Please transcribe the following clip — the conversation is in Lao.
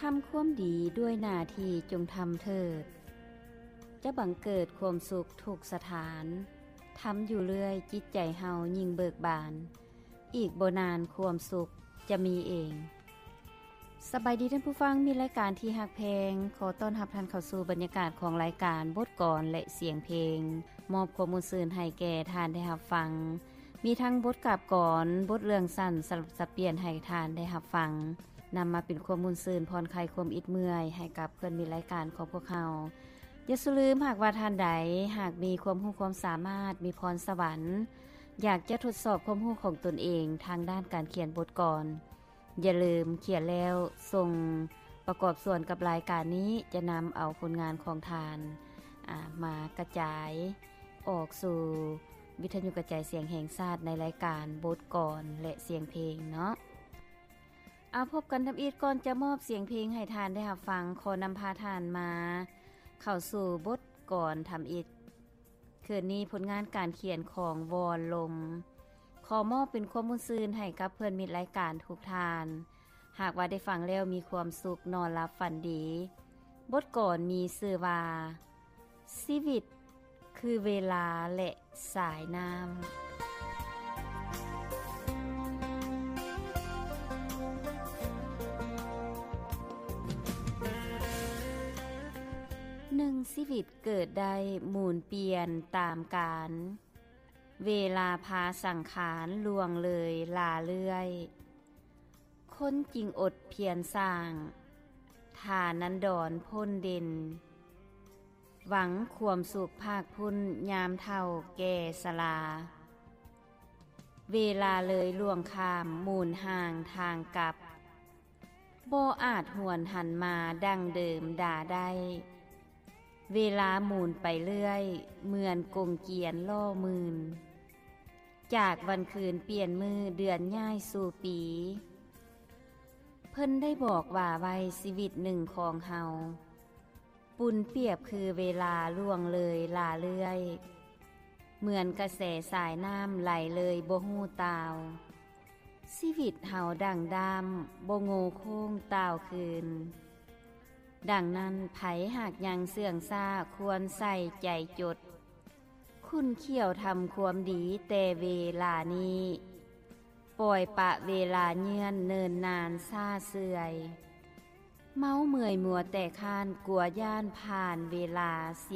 ທຳຄວາມດີດ້ວຍໜ້າທີ່ຈົ່ງທຳເທີດ ຈະບັງເກີດຄວາມສຸກທຸກສະຖານ. ທຳຢູ່ເລື້ອຍ ຈິດໃຈເຮົາຍິ່ງເບີກບານ. ອີກບໍ່ນານຄວາມສຸກຈະມີເອງ. ສະບາຍດີທ່ານຜູ້ຟັງ, ມິດລາຍການທີ່ຮັກແພງ, ຂໍຕ້ອນຮັບທ່ານເຂົ້າສູ່ບັນຍາກາດຂອງລາຍການບົດກອນ ແລະ ສຽງເພງ, ມອບຄວາມມ່ວນຊື່ນໃຫ້ແກ່ທ່ານໄດ້ຮັບຟັງ. ມີທັງບົດກາບກອນ, ບົດເລື່ອງສັ້ນສະຫຼັບສັບປ່ຽນໃຫ້ທ່ານໄດ້ຮັບຟັງ, ນຳມາເປັນຄວາມມ່ວນຊື່ນຜ່ອນຄາຍຄວາມອິດເມື່ອຍໃຫ້ກັບເພື່ອນມິດລາຍການຂອງພວກເຮົາ. ຢ່າສູ່ລືມ, ຫາກວ່າທ່ານໃດຫາກມີຄວາມຮູ້ຄວາມສາມາດ, ມີພອນສະຫວັນ, ຢາກຈະທົດສອບຄວາມຮູ້ຂອງຕົນເອງທາງດ້ານການຂຽນບົດກອນ, ຢ່າລືມຂຽນແລ້ວສົ່ງປະກອບສ່ວນກັບລາຍການນີ້, ຈະນຳເອົາຜົນງານຂອງທ່ານ, ອາ, ມາກະຈາຍອອກສູ່ວິທະຍຸກະຈາຍສຽງແຫ່ງຊາດໃນລາຍການບົດກອນ ແລະ ສຽງເພງເນາະ. ເອົາ, ພົບກັນທຳອິດ. ກ່ອນຈະມອບສຽງເພງໃຫ້ທ່ານໄດ້ຮັບຟັງ, ຂໍນຳພາທ່ານມາເຂົ້າສູ່ບົດກອນທຳອິດ. ຄືນນີ້ຜົນງານການຂຽນຂອງວອນລົມ ຂໍມອບເປັນຄວາມມ່ວນຊື່ນໃຫ້ກັບເພື່ອນມິດລາຍການທຸກທ່ານ. ຫາກວ່າໄດ້ຟັງແລ້ວມີຄວາມສຸກ, ນອນຫຼັບຝັນດີ. ບົດກອນມີຊື່ວ່າ ຊີວິດຄືເວລາ ແລະ ສາຍນ້ຳ. ໜຶ່ງຊີວິດເກີດໄດ້ໝູນປ່ຽນຕາມການ, ເວລາພາສັງຂານລ່ວງເລີຍຫຼ້າເລື່ອຍ, ຄົນຈຶ່ງອົດພຽນສ້າງ ຖານັນດອນພົ້ນເດັ່ນ, ຫວັງຄວາມສຸກພາກພຸ້ນຍາມເຖົ້າແກ່ຊະລາ. ເວລາເລີຍລ່ວງຂ້າມໝູນຮ່າງທາງກັບ, ບໍ່ອາດຫວນຫັນມາດັ່ງເດີມດາໄດ້. ເວລາໝູນໄປເລື້ອຍ ເໝືອນກົງກຽນລໍ້ໝື່ນ, ຈາກວັນຄືນປ່ຽນມື້ເດືອນຍ້າຍສູ່ປີ. ເພິ່ນໄດ້ບອກວ່າໄວ້ຊີວິດໜຶ່ງຂອງເຮົາ ປຸນປຽບຄືເວລາລ່ວງເລີຍຫຼ້າເລື່ອຍ, ເໝືອນກະແສສາຍນ້ຳໄຫຼເລີຍບໍ່ຮູ້ຕ່າວ. ຊີວິດເຮົາດັ່ງດ້າມບໍ່ໂງ່ໂຄ້ງຕ່າວຄືນ. ດັ່ງນັ້ນ, ໃຜຫາກຍັງເຊື່ອງຊ້າຄວນໃສ່ໃຈຈົດ, ຂຸ້ນຂ້ຽວທຳຄວາມດີແຕ່ເວລານີ້, ປ່ອຍປະເວລາເຍືອນເນີນນານຊ້າເຊື່ອຍ. ເມົາເມື່ອຍມົວແຕ່ຄ້ານ ກົວຢ້ານຜ່ານເວລາເສຍ